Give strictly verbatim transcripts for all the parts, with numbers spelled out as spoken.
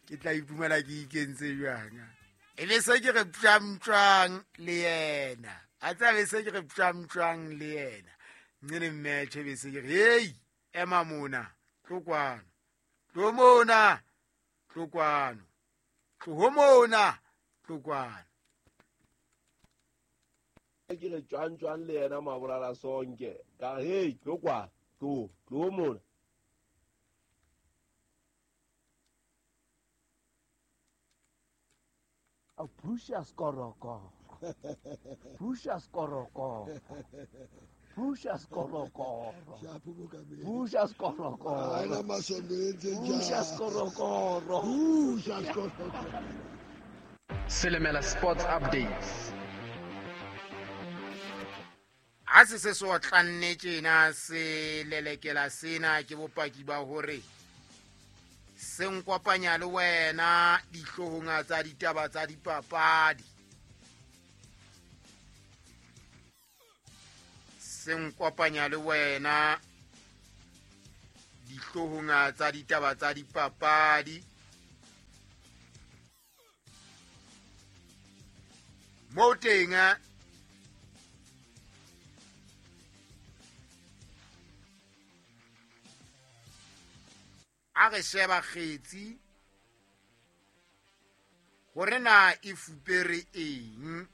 Ke tla iphumana ke ikentse jwang. E be se ke re ptjamtjwang le yena. A tsa be se ke re ptjamtjwang le yena. Nne match be se ke re hey ema mona tlo kwano. Tlo mona tlo kwano. Tlo mona tlo kwano. Ke re tjwang le yena mabolala sonke. Ka hey tlo kwa tlo tlo mona. A pusha skoroko. Pusha skoroko. Pusha skoroko. Pusha skoroko. Pusha skoroko. Pusha skoroko. Silimela Sports Updates. Ha se se so tlanne tjena se lelekela sena ke bopaki ba hore se nkopanya le wena dihloohong tsa ditaba tsa dipapadi. Se nkopanya le wena dihloohong tsa ditaba tsa dipapadi. Mo teng a re sheba kgetsi hore na e fupere eng.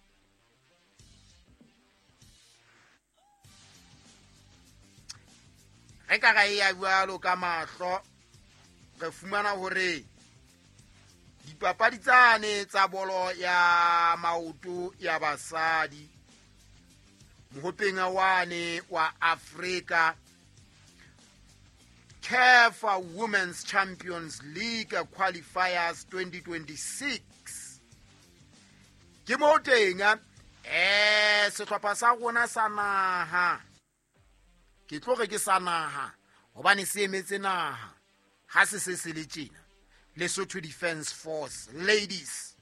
Re ka ra ya jwalo ka mahlo re fumana hore dipapadi tsane tsa bolo ya maoto ya basadi mohopeng wane wa Afrika C A F Women's Champions League Qualifiers twenty twenty-six. Ke mo teng eh sehlopha sa rona sa naha. Ke tlo re ke sa naha hobane se emetse naha. Ha se se se le tjena. Lesotho Defence Force Ladies.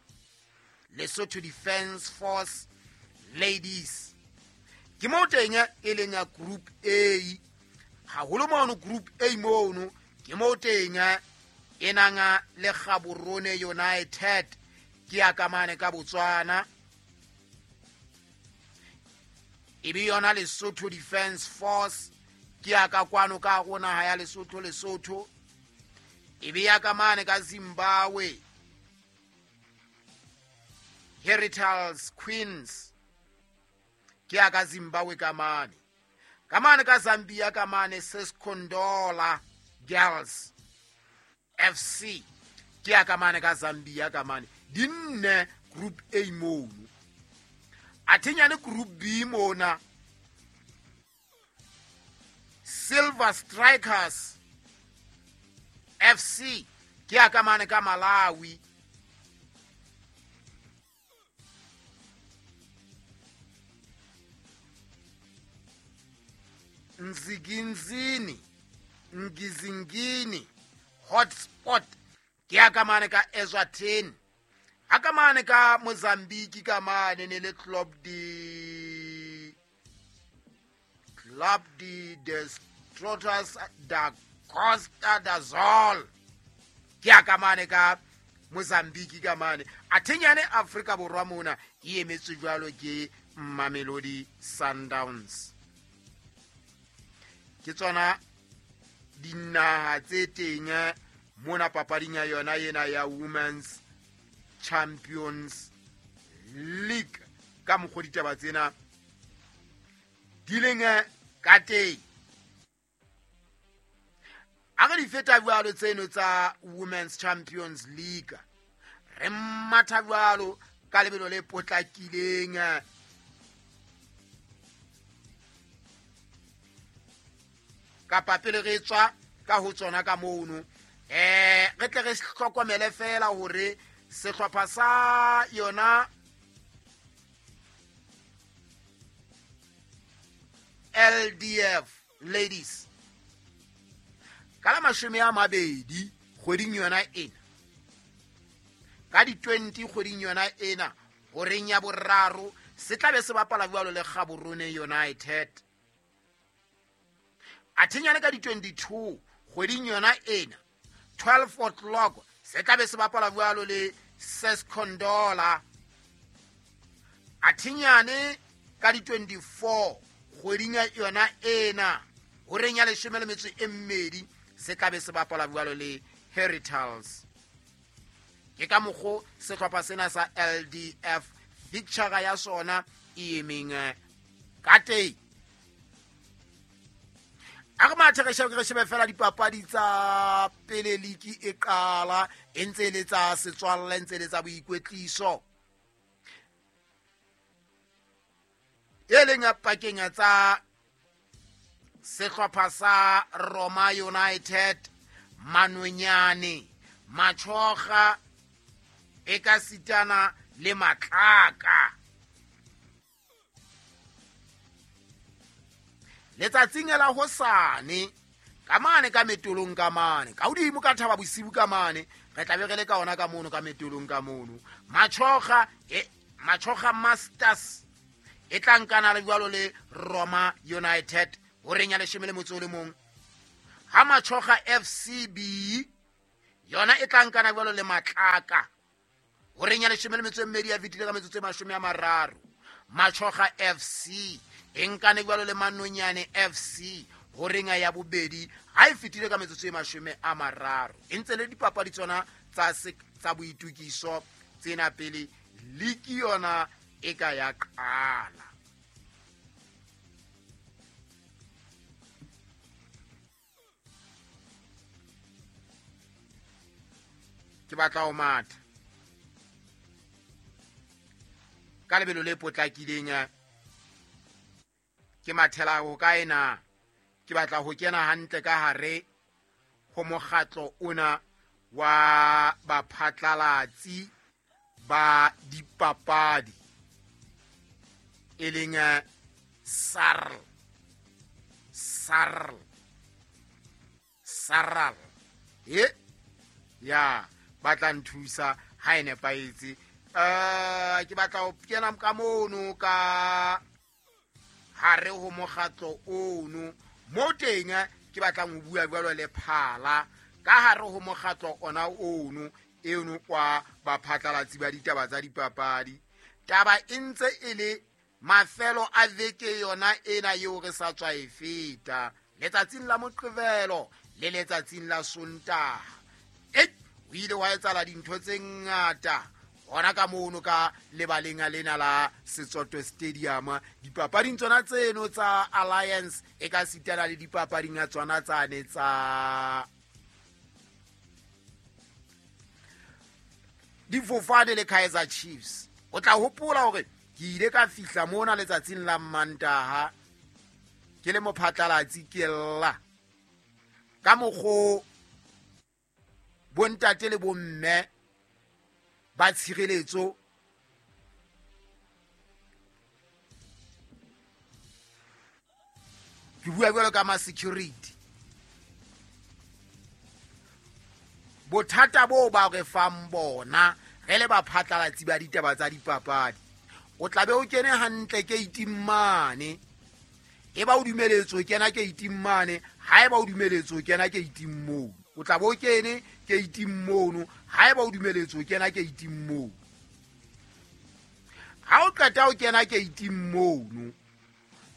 Lesotho Defence Force Ladies. Ke mo teng e leng ya Group A. Haholo mono Group A mono ke mo teng e nanga le Gaborone United ke ya ka mane ka Botswana. E be yona Lesotho Defence Force ke ya ka kwano ka rona ha ya Lesotho Lesotho. E be ya ka mane ka Zimbabwe Heritage Queens ke ya ka Zimbabwe ka mane. Kamane ka Zambia kamane Seskondola Girls F C ke ya kamane ka Zambia kamane dinne Group A mono. Athinyane Group B mona Silver Strikers F C ke ya kamane ka Malawi. Nziginzini Ngizingini Hotspot ke ya kamane ka Eswatini. Ha kamane ka Mozambique kamane ne le Club de Club de Destrotters da Costa da Sol ke ya kamane ka Mozambique kamane. Athinyane Afrika Borwa mona e emetswe jwalo ke Mamelodi Sundowns. Ke tsona dinaha tse teng mona papading ya yona ena ya Women's Champions League ka mokgwa ditaba tsena di leng ka teng. A re di feta jwalo tseno tsa Women's Champions League re matha jwalo ka lebelo le potlakileng kapa pele re tswa ka ho tsona ka mono eh re tle re hlokomele fela hore sehlopha sa yona L D F Ladies ka la mashome a mabedi kgweding yona ena ka di twenty kgweding yona ena horeng ya boraro se tla be se bapala jwalo le Gaborone United. Athinyane ka di twenty-two kgweding yona ena twelve o'clock Se tla be se bapala jwalo le Sescondola. Athinyane ka di twenty-four kgweding ya yona ena horeng ya leshome le metso e mmedi se tla be se bapala jwalo le Heritals. Ke ka mokgo sehlopha sena sa L D F picture ya sona e emeng ka teng. A re mathe re shebe re shebe fela dipapadi tsa pele ligi e qala e ntse le tsa setswalle ntse le tsa boikwetliso. E leng pakeng tsa sehlopha sa Roma United, Manonyane, Machoga e ka sitana le Matlaka. Letsatsing la hosane ka mane ka metolong ka mane ka hodimo ka thaba bosibu ka mane re tla be re le ka ona ka mono ka metolong ka mono. Machoga e Machoga Masters e tla nkana le jwalo le Roma United horeng ya leshome le motso o le mong. Ha Machoga F C B yona e tla nkana jwalo le Matlaka horeng ya leshome le metso e mmedi ya fetile ka metsotso e mashome a mararo. Machoga F C e nkane jwalo le Manonyane F C horeng ya bobedi ha e fetile ka metsotso e mashome a mararo. E ntse le dipapadi tsona tsa tsa boitukiso tsena pele ligi yona e ka ya qala. Ke batla ho matha ka lebelo le potlakileng, ke mathela ho kae na? Ke batla ho kena hantle ka hare ho mokgatlo ona wa baphatlalatsi ba dipapadi e leng S A R L S A R L S A R L e ya batla nthusa ha e nepahetse. Eh ke batla ho kena ka mono ka hare ho mokgatlo ono mo teng ke batlang ho bua jwalo le phala ka hare ho mokgatlo ona ono eno kwa baphatlalatsi ba ditaba tsa dipapadi. Taba e ntse e le mafelo a veke yona ena eo re sa tswa e feta letsatsing la Moqebelo le letsatsing la Sontaha. E o ile wa etsahala dintho tse ngata hona ka mono ka lebaleng lena la Setsoto Stadium. Dipapading tsona tseno tsa Alliance e ka sitana le dipapading tsona tsane tsa Difofane le Kaizer Chiefs. O tla hopola hore ke ile ka fihla mona letsatsing la Mantaha ke le mophatlalatsi ke lla ka mokgo bontate le bomme ba tshireletso ke bua jwalo ka ma security. Bothata bo ba re fang bona re le baphatlalatsi ba ditaba tsa dipapadi, o tla be o kene hantle keiting mane, e ba o dumeletswe ho kena keiting mane, ha e ba o dumeletswe ho kena keiting mono, o tla be o kene keiting mono, ha e ba o dumeletswe ho kena keiting mono. Ha o qeta ho kena keiting mono,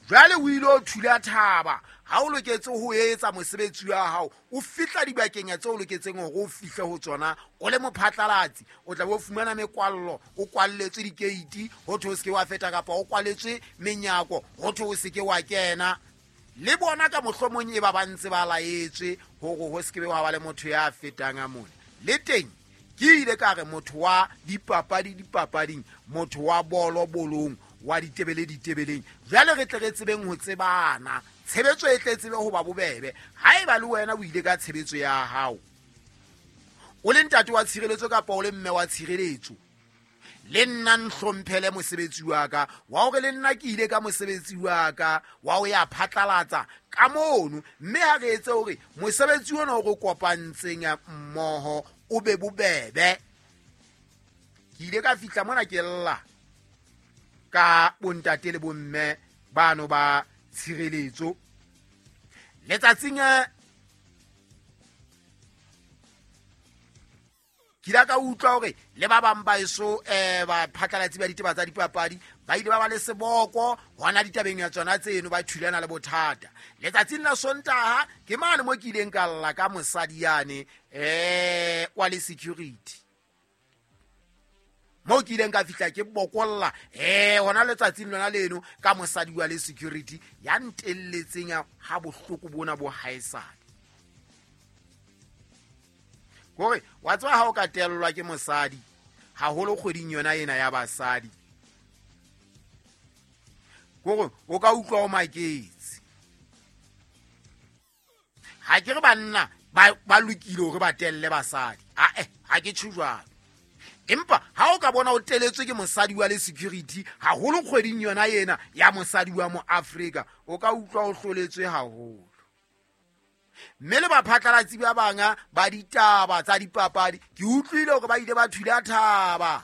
jwale o ile o thula thaba ha o loketse ho etsa mosebetsi wa hao, o fihla dibakeng tse o loketseng hore o fihle ho tsona o le mophatlalatsi, o tla be o fumana mekwallo, o kwalletswe dikeiti ho thwe o se ke wa feta, kapa o kwaletswe menyako ho thwe o se ke wa kena. Le bona ka mohlomong e ba ba ntse ba laetswe hore ho se ke be wa ba le motho ya fetang a mona. Le teng ke ile ka re motho wa dipapadi dipapading, motho wa bolo bolong, wa ditebele ditebeleng, jwale re tle re tsebeng ho tsebana, tshebetso e tle tsebe ho ba bobebe. Haeba le wena o ile ka tshebetso ya hao o le ntate wa tshireletso kapa o le mme wa tshireletso, le nna nhlomphele mosebetsi wa ka wa hore le nna ke ile ka mosebetsi wa ka wa ho ya phatlalatsa ka mono, mme ha re etse hore mosebetsi ona o re kopantseng mmoho o be bobebe. Ke ile ka fihla mona ke lla ka bontate le bomme bano ba tshireletso letsatsing Ke ile ka utlwa hore le ba bang ba eso eh ba phatlalatsi ba ditaba tsa dipapadi ba ile ba ba le seboko hona ditabeng ya tsona tseno, ba thulana le bothata. Letsatsing la Sontaha ke mane mo ke ileng ka lla ka mosadi yane eh wa le security, mo ke ileng ka fihla ke bokolla eh hona letsatsing lona leno ka mosadi wa le security ya ntelletseng ha bohloko bona bo haesale. Kore wa tswa ha o ka tellwa ke mosadi haholo kgweding yona ena ya basadi, kore o ka utlwa o maketse. Ha ke re banna ba ba lokile hore ba telle basadi, ae ha ke tjho jwalo, empa ha o ka bona o teletswe ke mosadi wa le security haholo kgweding yona ena ya mosadi wa mo Afrika, o ka utlwa o hloletswe haholo. Mme le baphatlalatsi ba banga ba ditaba tsa dipapadi ke utlwile hore ba ile ba thula thaba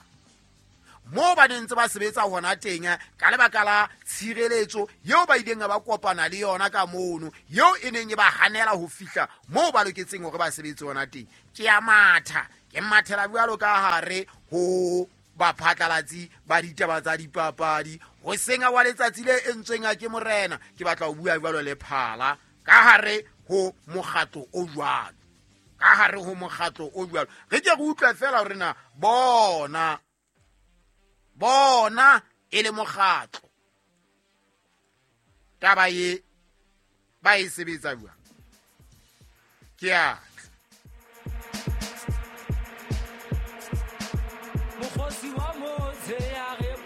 moo ba neng ntse ba sebetsa hona teng ka lebaka la tshireletso eo ba ileng ba kopana le yona ka mono, eo e neng e ba hanela ho fihla moo ba loketseng hore ba sebetse hona teng. Ke a matha, ke mathela jwalo ka hare ho baphatlalatsi ba ditaba tsa dipapadi ho senga wa letsatsi le entsweng ke morena. Ke batla ho bua jwalo le phala ka hare ho mokgatlo o jwalo, ka hare ho mokgatlo o jwalo. Re ke re utlwa fela hore na bona bona e le mokgatlo taba ye ba e sebetsa jwang. Ke a mokgosi wa motse ya re